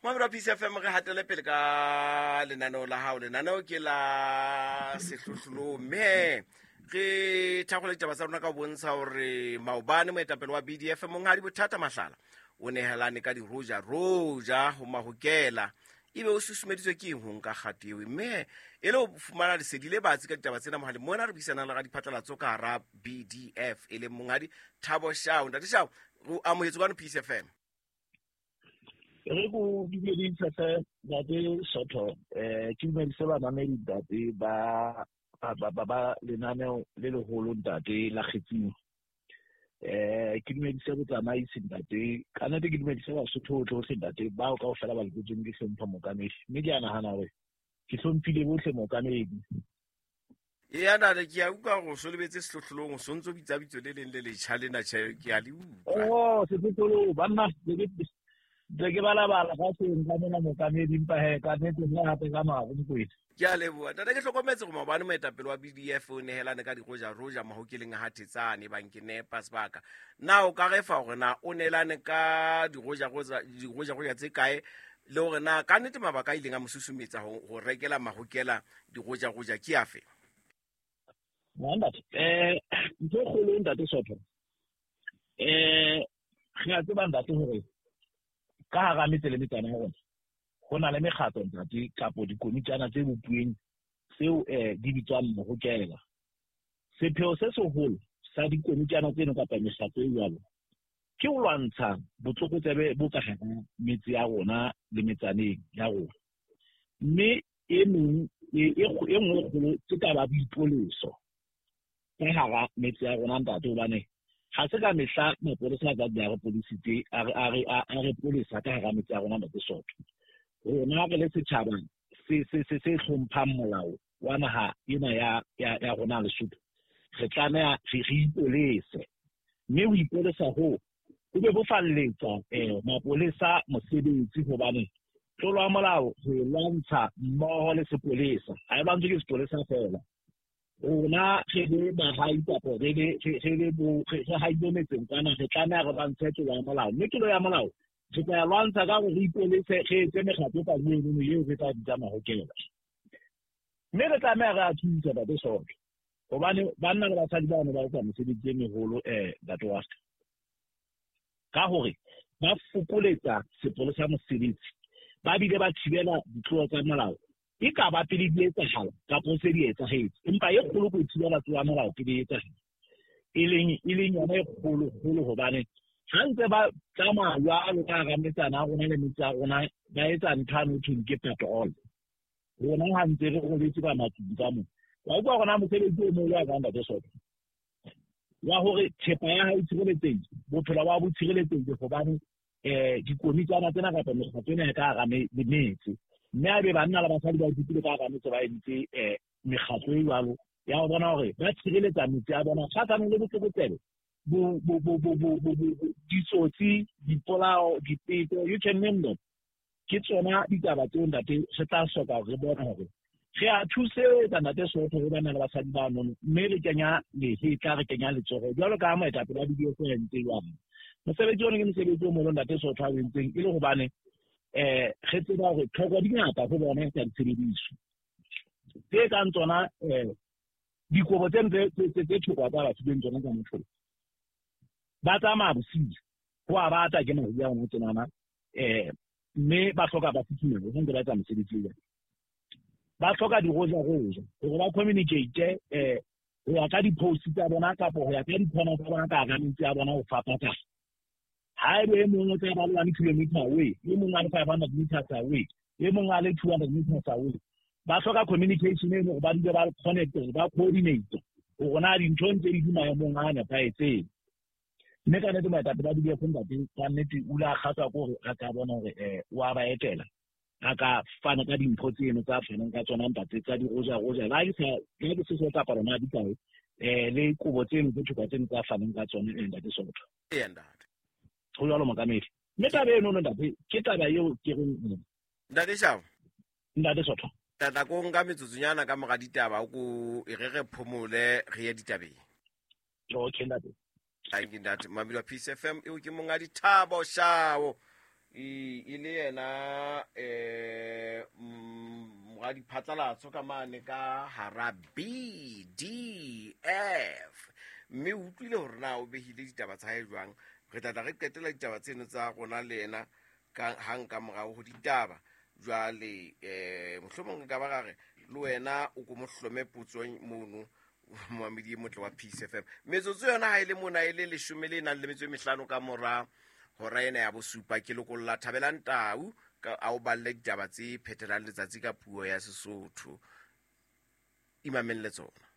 Mamelo wa Peace FM, re hatele pele ka lenaneo la hao. Lenaneo ke la sehlohlolong, mme re thakgole ditaba tsa rona ka ho bontsha hore maobane moetapele wa BDF Monghadi Bothata Mahlala o nehelane ka diroja roja ho mahokela. Ebe o susumeditswe ke eng ho nka kgato eo? Mme e le ho fumana lesedi le batsi ka ditaba tsena, mohaleng mona re buisanang le radiphatlalatso ka hara BDF e leng Monghadi Thabo Shao. Ntate Shao, o amohetswe kwano Peace FM. Re ko dumedise hle ntate Sotho, ke dumedise bamamedi ntate ba ba lenaneo le leholo ntate la Kgetsing. Ke dumedise botsamaisi ntate, ka nnete ke dumedise Basotho bohle ntate bao kaofela ba loketseng ke hlompha mookamedi, mme ke a nahana hore ke hlomphile bohle mookamedi. Eya ntate, ke a utlwa gore o so lebetse sehlohlolong, o sontse o bitsa bitso le leng le letjha lena. Tjhe, ke a le utlwa. Oh, sehlohlolong banna, ntse ke balabala ka seng ka mona mookamedi, empa he ka nnete nna hape ka maro Mokwena. Ke a leboha ntate. Ke hlokometse gore maobane moetapele wa BDF o nehelane ka dirojaroja mahokeleng a Hathetsane, bang ke nepa sebaka. Na o ka re fa gore na o neelane ka dirojaroja tse kae, le gore na ka nnete mabaka a ileng a mo susumetsa ho rekela mahokela dirojaroja ke afe? Ntate, ntho e kgolo ntate Sotho, re a tseba ntate hore ka hara metse le metsana ya rona ho na le mekgatlo ntate, kapo dikomitjana tse bopuweng tseo di bitswang mohokela. Sepheo se seholo sa dikomitjana tseno kapa mekgatlo e jwalo ke ho lwantsha botlokotsebe bo ka hara metse ya rona le metsaneng ya rona. Mme e meng e nngwe e kgolo ke taba ya boipoleso ka hara metse ya rona ntate, hobane ha se ka mehla mapolesa a tla dula a re polisitse, a re polesa ka hara metse ya rona ntate Sotho. Rona re le setjhaba se hlomphang molao wa naha ena ya rona Lesotho, re tlameha re ipolese, mme ho ipolesa hoo ho be bo falletsa mapolesa mosebetsi, hobane tlolo ya molao re lwantsha mmoho le sepolesa, ha e lwantswe ke sepolesa feela. Rona re le bahai kapo re haile metseng kwana, re tlameha re lwantshe tlolo ya molao, mme tlolo ya molao re tla lwantsha ka hore re ipolese, re etse mekgatlo ka eno eo re tla bitsa mahokela. Mme re tlameha re a thusa ntate Sotho, hobane banna le basadi bano ba etsa mesebetsi e meholo ntate wa ka, ka hore ba fokoletsa sepolesa mosebetsi, ba bile ba thibela ditlolo tsa molao e ka ba pele di etsahala kapo se di etsahetse, empa e kgolo ko thibela tlolo ya molao pele e etsahala, e leng yona e kgolo-kgolo, hobane ha ntse ba tsamaya jwalo ka hara metsana ya rona le metse ya rona, ba etsa ntho ane ho thweng ke patrol. Rona ha ntse re robetse ka matlung ka moo, wa utlwa rona mosebetsi o moholo wa ka ntate Sotho wa hore thepa ya hao e tshireletsehile, bophelo ba bo tshireletsehile, hobane dikomitjana tsena kapa mekgatlo ena ya ka hara metse, mme a be banna le basadi ba ithutile ka hara metse, ba entse mekgatlo e jwalo ya ho bona hore ba tshireletsa metse ya bona kgahlanong le botlokotsebe, ditsotsi, dipolao, dipeto, you can name them. Ke tsona ditaba tseo ntate re tla hloka hore re bone hore re a thusetsa ntate Sotho ho bana le basadi ba nono, mme re kenya lehetla, re kenya letsoho jwalo ka moetapele wa BDF a entse jwang. Mosebetsi ona ke mosebetsi o moholo ntate Sotho a o entseng, e le hobane re tseba hore tlhoko di ngata ho bona tsa ditshebediso tse kang tsona dikobo tse tse thoko tsa batho beng tsona tsa motho. Ba tsamaya bosiu, ho a bata ke mariha hona tjenana, mme ba hloka ba futhumele ho ntse ba etsa mosebetsi o. Ba hloka diroja-roja hore ba communicate ho ya ka di-post tsa bona kapo ho ya ka di-corner tsa bona ka hara metse ya bona ho fapana. Haebe e mong o tla ba le 1 kilometer away, e mong a le 500 meters away, e mong a le 200 meters away, ba hloka communication e hore ba dule ba connect, ba coordinate hore na dintho ntse di maemong a nepahetseng. Mme ka nnete moetapele wa BDF ntate ka nnete o ile a kgahlwa ke hore a ka bona hore o a ba etela, a ka fana ka dimpho tseno tsa fanang ka tsona ntate tsa diroja-roja, le ha ke se so kapa rona di kae, le kobo tseno tse thoko tseno tsa fanang ka tsona ntate Sotho. Eya ntate. Ho jwalo mookamedi. Mme taba eno ntate ke taba eo ke reng Ntate Shao. Ntate Sotho. Tata ko nka metsotsonyana ka mora ditaba ko e re re phomole re ye ditabeng. Okay ntate. Thank you ntate. Mamelo wa Peace FM eo ke monga dithabo Shao. E le yena moradiphatlalatso ka mane ka hara BDF, mme o utlwile hore na o behile ditaba tsa hae jwang. Re tla tla re qetela ditaba tseno tsa rona le yena hang ka morao ho ditaba. Jwale mohlomong re ka ba ra re le wena o ko mo hlome potsong mono, momamedi e motle wa Peace FM. Metsotso yona ha e le mona e le 15 le nang le metso e 5 ka mora hora ena ya 7. Ke lokolla Thabelang Tau a o balle ditaba tse phethelang letsatsi ka puo ya Sesotho. Imamelle tsona.